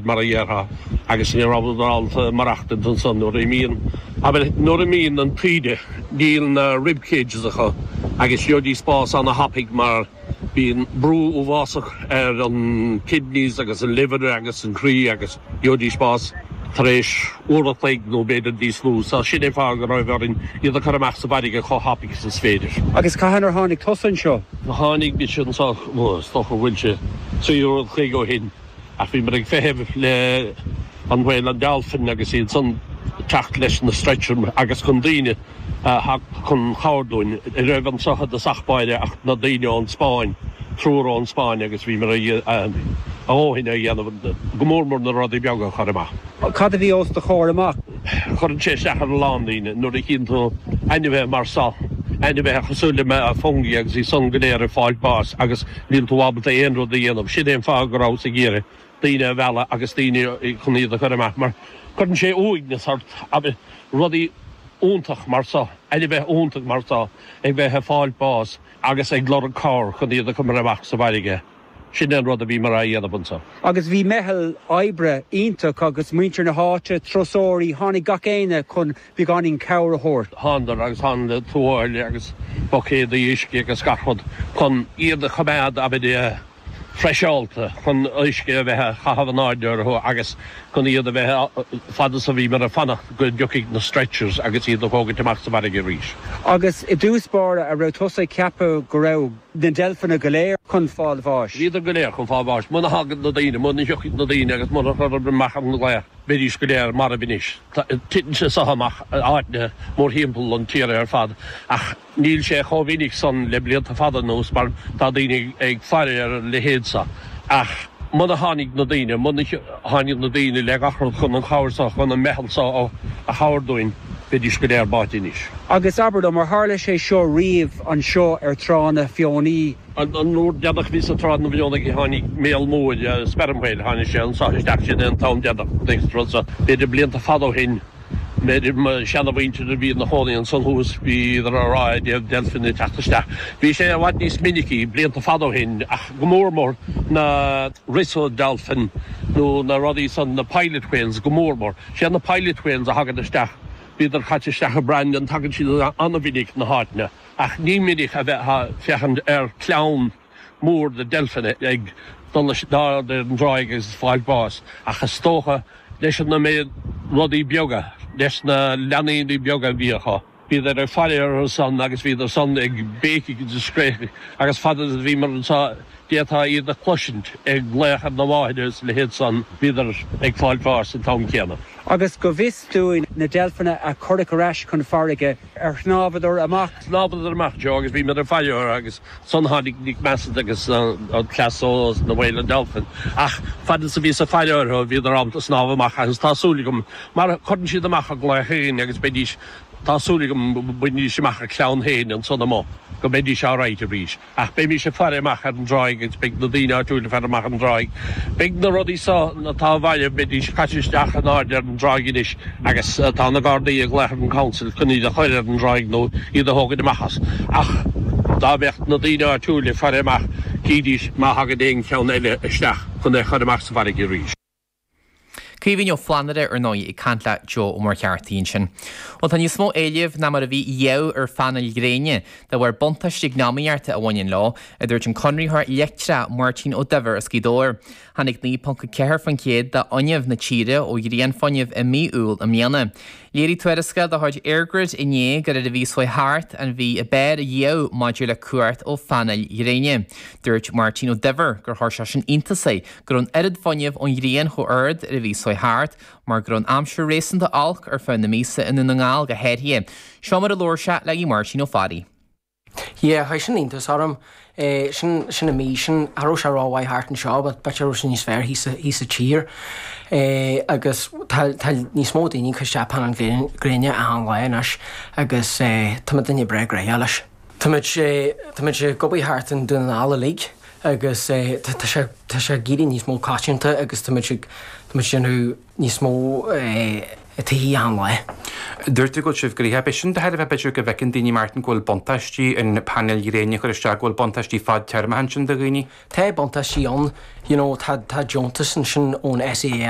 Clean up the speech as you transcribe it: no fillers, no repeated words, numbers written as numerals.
Mar a dhéarfá, agus ní rabhadar ábalta maireachtaint ansan nuair a imíonn, abair, nuair a imíonn an taoide, níl na rib cages acu agus gheobhaidís bás ana-thapaidh mar bíonn brú uafásach ar an kidneys agus an liver agus an croí agus gheobhaidís bás tar éis uair a chloig nó b'fhéidir níos lú. So sin é fáth go raibh orainn iad a chur amach sa bhfarraige chomh thapaidh is is féidir. Agus cathain ar tháinig tusa anseo? Tháinig mise anseo, is dócha go bhfuil sé 3 uair an chloig ó shin. Ach bhíomar ag feitheamh le an Whale and Dolphin agus iad san teacht leis na stretcher agus chun daoine a theacht chun cabhair dúinn. Ní raibh anseo i dtosach báire ach na daoine ón Spáinn, triúr ón Spáinn agus bhíomar a dhóthain a dhéanamh, go mór mór na rudaí beaga a chur amach. Cad a bhí os do chomhair amach? Cuireann sé isteach ar a lán daoine nuair a chíonn tú ainmhithe mar so, ainmhithe cosúil le Fungie agus iad san go léir ag fáilt bás agus Níl tú ábalta aon rud a dhéanamh. Sin é an fáth go rabhas ag iarraidh daoine a mhealladh agus daoine chun iad a chur amach mar cuireann sé uaigneas ort abair rudaí iontach mar so, ainmhithe iontach mar so ag bheith ag fáilt bás agus ag lorg cabhair chun iad a chur amach sa bhfarraige. Sin é an rud a bhíomar á dhéanamh anso. Agus bhí meitheal oibre iontach agus muintir na háite, turasóirí, tháinig gach éinne chun beagáinín cabhair a thabhairt. Thánadar agus tháinig le tuáille agus buicéadaí uisce agus gach rud chun iad a choimeád, abair, freiseálta, chun uisce a bheith á chaitheamh in airde orthu agus chun iad a bheith, fad is a bhíomar ag fanacht go dtiocfaidh na stretchers agus iad a thógaint amach sa bhfarraige arís. Agus i dtús báire, a' raibh tusa ag ceapadh go raibh na deilfeanna go léir chun fáil bháis? Bhíodar go léir chun fáil bháis. Muna thagann na daoine, muna thiocfaidh na daoine agus muna chuireadar amach an glaoch, bheidís go léir marbh anois. Titeann sé seo amach in áiteanna mórthimpeall an tíre ar fad ach níl sé chomh minic san le blianta fada anuas mar tá daoine ag faire ar a leithéid seo. Ach muna tháinig na daoine, muna tháinig na daoine le gach rud chun an chabhair seo, chun an meitheal seo a chabhair dúinn, bheidís go léir báite anois. Agus abair liom, ar tharla sé seo riamh anseo ar Trá na Feonaí? An uair deireanach a bhíos ag Trá na bhFeonaigh tháinig míol mór, sperm whale, tháinig sé anso isteach, sin é an t-am deireanach a rud so. B'fhéidir blianta fada ó shin, b'fhéidir mo sheanamhuintir a bhí ina chónaí ansan thuas, bhíodar á rá i dtaobh deilfeanna ag teacht isteach. Bhí sé i bhfad níos minicí blianta fada ó shin ach go mór mór na Risso dolphin nó na rudaí san, na pilot whales go mór mór. Sé na pilot whales a thagann isteach, bhíodar caite isteach i Brandon, tagann siad an-mhinic na háiteanna. Ach ní minic a bheifeá féachaint ar chlann mór de deilfeanna ag dul in airde ar an dtráigh agus ag fáil báis, ach is dócha leis an méid rudaí beaga, leis na leanaí beaga a bhí acu, bhíodar ag faire orthu san agus bhíodar san ag béicigh agus ag scréachadh agus fad is a bhíomar anseo d'fhéadfá iad a chloisint ag glaoch ar na máthair agus a leithéid san, bhíodar ag fáil bháis an t-am céanna. Agus go bhfios dúinn, na deilfeanna a cuireadh ar ais chun farraige, Ar shnámhadar amach? Shnámhadar amach, Joe, agus bhíomar ag faire orthu agus ansan tháinig Nick Massett agus an cleas ó na Whale and Dolphin. Ach fad is a bhíos ag faire orthu bhíodar ábalta snámh amach agus tá súil agam, mar cuireann siad amach a nglaoch féin agus beidís, tá súil agam go mbainfidís amach a clann féin ansan amuigh, go mbeidís alright arís. Ach beimís ag faire amach ar an dtráigh agus beidh na daoine áitiúil ag faire amach ar an dtráigh. Beidh na rudaí so atá marbh, beidís caite isteach in airde ar an dtráigh anois agus tá na Gardaí ag glaoch ar an Council chun iad a chur ar an dtráigh nó iad a thógaint amach as. Ach dá mbeadh na daoine áitiúil ag faire amach chífidís má thagann aon cheann eile isteach chun é a chur amach sa bhfarraige arís. Caoimhín Ó Flannaire, ar ndóigh, ag caint le Joe Ó Muircheartaigh ansin. Bhuel, tá níos mó éilimh ná mar a bhí riamh ar phainéil ghréine, de bharr buntáistí eacnamaíochta a bhaineann leo, a dúirt an conraitheoir leictreach Máirtín Ó Duibhir as Gaoth Dobhair. Tháinig 9.4% de fhuinneamh na tíre ó ghrianfhuinneamh i mí Iúil i mbliana. Léirigh tuarascáil de chuid EirGrid inné gur ar an mhí seo chuaigh thart an mhí ab fhearr riamh maidir le cumhacht ó phainéil ghréine. Dúirt Máirtín Ó Duibhir gur chuir sé sin iontas air go raibh an oiread fuinnimh ón ghrian chomh ard ar an mhí seo chuaigh thart mar go raibh an aimsir réasúnta olc ar feadh na míosa i nDún na nGall go háirithe. Seo mar a labhair sé le Aodh Máirtín Ó Fearraigh. Yeah, chuir sin iontas orm. Sin, sin an mí sin, cha raibh sé rómhaith thart anseo but b'fhéidir raibh sé níos fearr thíos sa, thíos sa tír. Agus tá, tá níos mó daoine ag cur isteach painéil gréine achan lá anois agus tá muidinne breá gnoitheach leis. Tá muid, tá muid ag obair thart in Dún na nGall uilig agus tá, tá sé, tá sé ag éirí níos mó coitianta agus tá muid ag, tá muid ag déanamh níos mó. Taithí achan lá. Dúirt tú go bhfuil sibh gnoitheach. B'shin de thairbhe b'fhéidir go bhfeiceann daoine, Martin, go bhfuil buntáistí an painéil ghréine a chur isteach, go bhfuil buntáistí fadtéarmacha ansin do dhaoine. Tá buntáistí ann, you know, tá, tá deontas ansin ón SEAI.